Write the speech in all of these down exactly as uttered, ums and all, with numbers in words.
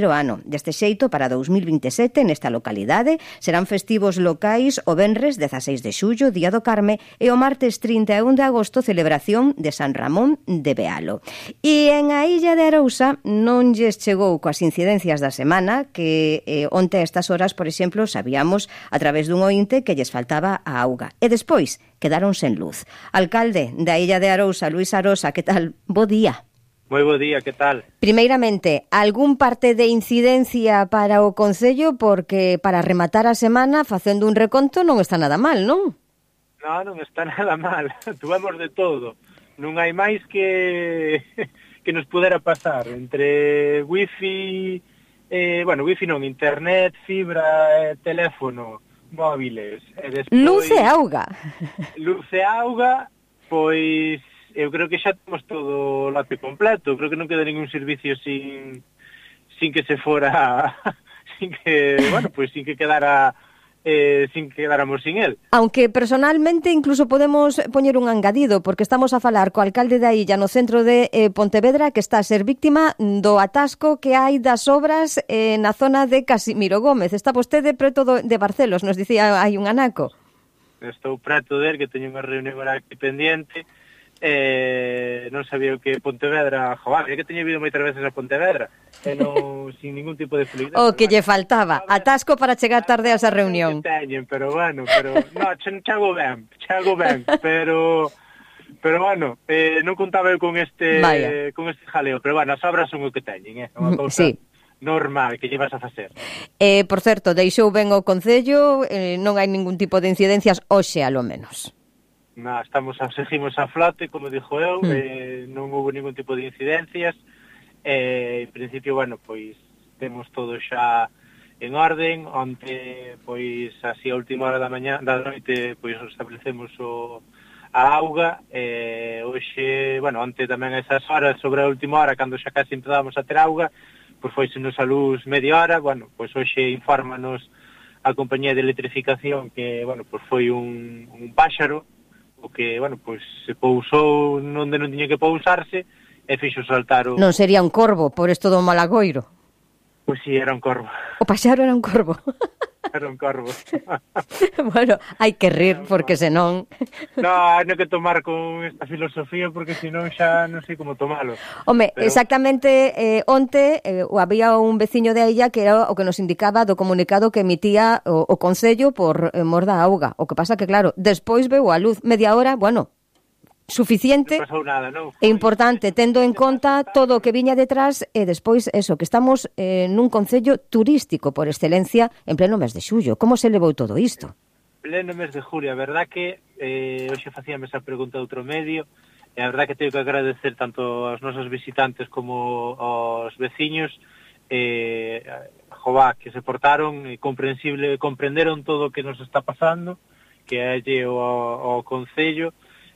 ano. Deste xeito, para dous mil vinte e sete, nesta localidade, serán festivos locais o venres dezaseis de xullo, Día do Carme, e o martes trinta e un de agosto, celebración de San Ramón de Bealo. E en a Illa de Arousa non lles chegou coas incidencias da semana, que eh, onte a estas horas, por exemplo, sabíamos a través dun ointe que lles faltaba a auga. E despois quedaron sen luz. Alcalde da Illa de Arousa, Luís Arosa, que tal? Bo día. Moi bo día, que tal? Primeiramente, algún parte de incidencia para o Concello, porque para rematar a semana, facendo un reconto, non está nada mal, non? Non, non está nada mal. Tuvemos de todo. Non hai máis que que nos pudera pasar. Entre wifi, eh, bueno, wifi non, internet, fibra, eh, teléfono, móviles. E despois, luz e auga. Luz e auga, pois... eu creo que xa temos todo o lote completo, creo que non queda ningún servicio sin sin que se fora sin que, bueno, pues sin que quedara eh, sin que quedáramos sin él. Aunque personalmente incluso podemos poñer un engadido, porque estamos a falar co alcalde da illa no centro de eh, Pontevedra, que está a ser víctima do atasco que hai das obras eh, na zona de Casimiro Gómez. Está vostede preto do, de Barcelos, nos dicía hai un anaco. Estou preto der, que teño unha reunión ahora aquí pendiente. Eh, non sabía que Pontevedra, joder, é que teño vido moitas veces a Pontevedra, e non, sin ningún tipo de fluidez. O que lle faltaba, atasco para chegar tarde a esa reunión. Teñen, pero bueno, pero no, chego ben, chego ben, pero pero bueno, eh, non contaba eu con este Vaya. con este jaleo, pero bueno, as obras son o que teñen, eh, unha cousa sí. normal que llevas a facer. Eh, por certo, deixou ben o Concello, eh, non hai ningún tipo de incidencias hoxe, a lo menos. No, estamos a, seguimos a flote, como dixo eu, mm. eh, non houve ningún tipo de incidencias, eh, en principio, bueno, pois temos todo xa en orden. Onte, pois, así a última hora da mañá, da noite, pois establecemos o, a auga, eh, hoxe, bueno, onte tamén a esas horas, sobre a última hora, cando xa casi empezamos a ter auga, pois foisenos a luz media hora, bueno, pois hoxe infórmanos a compañía de electrificación que, bueno, pois foi un, un páxaro, o que, bueno, pois se pousou onde non tiña que pousarse e fixo saltar o... Non sería un corvo, por isto do Malagoiro? Pois si, era un corvo. O paxaro era un corvo. Era un corvo. Bueno, hai que rir, porque senón... No, hai que tomar con esta filosofía, porque senón xa non sei como tomalo. Home, pero... exactamente, eh, onte eh, había un veciño de ella que era o que nos indicaba do comunicado que emitía o, o Concello por eh, mor da auga. O que pasa que, claro, despois veu a luz media hora, bueno... suficiente nada, non? E importante, tendo en conta todo o que viña detrás e despois eso, que estamos eh, nun concello turístico por excelencia en pleno mes de xullo. Como se levou todo isto? Pleno mes de julio, a verdad que eh, hoxe facíame esa pregunta de outro medio e a verdad que teño que agradecer tanto aos nosos visitantes como aos veciños eh, jová, que se portaron e comprensible, comprenderon todo o que nos está pasando, que é o ao concello.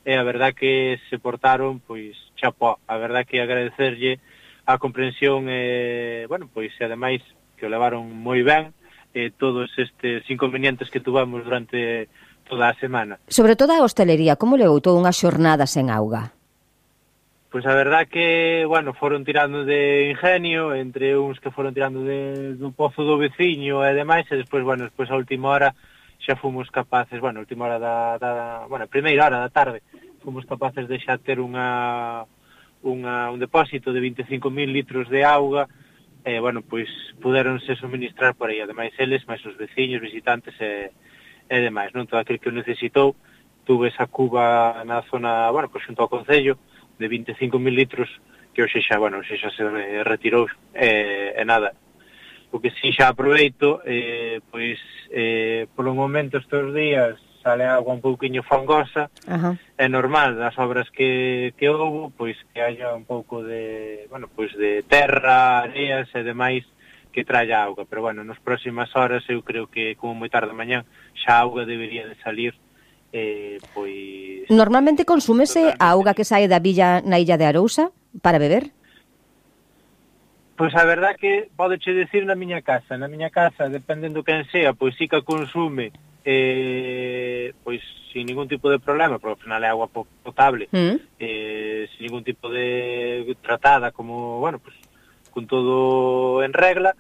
E a verdad que se portaron, pois, chapó. A verdad que agradecerlle a comprensión, e, bueno, pois, e ademais, que o levaron moi ben, e todos estes inconvenientes que tuvamos durante toda a semana. Sobre todo a hostelería, como levou toda unha xornada sen auga? Pois a verdad que, bueno, foron tirando de ingenio, entre uns que foron tirando de, do pozo do veciño e demais, e despois, bueno, despois a última hora xa fomos capaces, bueno, a última hora da, da bueno, a primeira hora da tarde, fomos capaces de xa ter unha, unha un depósito de vinte e cinco mil litros de auga, e, bueno, pois, puderonse suministrar por aí, ademais eles, máis os veciños, visitantes e, e demais, non? Todo aquel que o necesitou, tuve esa cuba na zona, bueno, pois, xunto ao Concello, de vinte e cinco mil litros, que hoxe xa, bueno, hoxe xa se retirou, e, e nada. O que si xa aproveito, eh, pois, eh, polo momento estes días sale agua un pouquiño fangosa, uh-huh. É normal, das obras que, que houve, pois que haya un pouco de, bueno, pois de terra, areas e demais que traia auga, pero bueno, nas próximas horas eu creo que como moi tarde mañá xa a auga debería de salir, eh, pois... Normalmente consúmese a auga que sae da villa na illa de Arousa para beber? Pois a verdad que podeche decir na miña casa, na miña casa, dependendo quen sea, pois sí que consume, eh, pois sin ningún tipo de problema, porque ao final é agua potable, mm. eh, sin ningún tipo de tratada, como, bueno, pois con todo en regla,